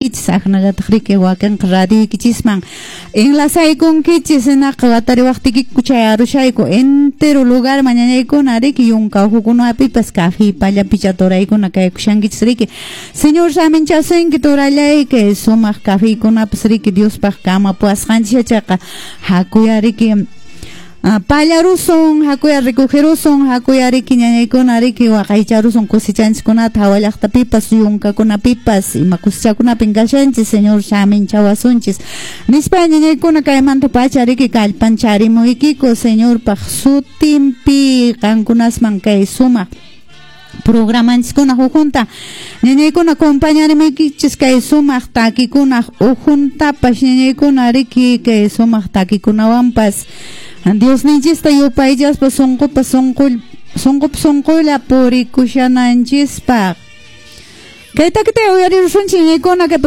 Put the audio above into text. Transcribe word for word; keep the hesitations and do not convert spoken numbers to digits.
uyariwankichis, aqnallataq riki wakinqa radioykichisman enlazaykunkichis, hinaqa watariwaqtikiku chayarushayku entero lugarman ñañaykuna riki yunka uhukunapipas café pallapicha turaykuna kaykushankichis riki. Señor saminchasunki turallayki sumaq cafékunapas riki Diospaq kamapuwasqanchis yachaqa hakuya riki pallarusun, hakuya recogerusun, hakuya riki ñañaykuna riki waqaycharusun cosechanchikkunata hawa llaqtapipas yunkakunapipas ima cosechakunapin kashanchis Señor saminchawasunchis nispa ñañaykuna kaymanta pacha riki kallpancharimuykiku Señorpaq sutinpi qankunasman kay sumaq programanchiskuna hujunta ñañaykuna compañarimuykichis kay sumaq takikunaq ujuntapas ñañaykuna riki kay sumaq takikunawanpas Diosninchista yupaychaspa sunqupa sunqul sunqupa sunqulla purikushananchispaq. Kay takita uyarirusunchik ñañaykuna kay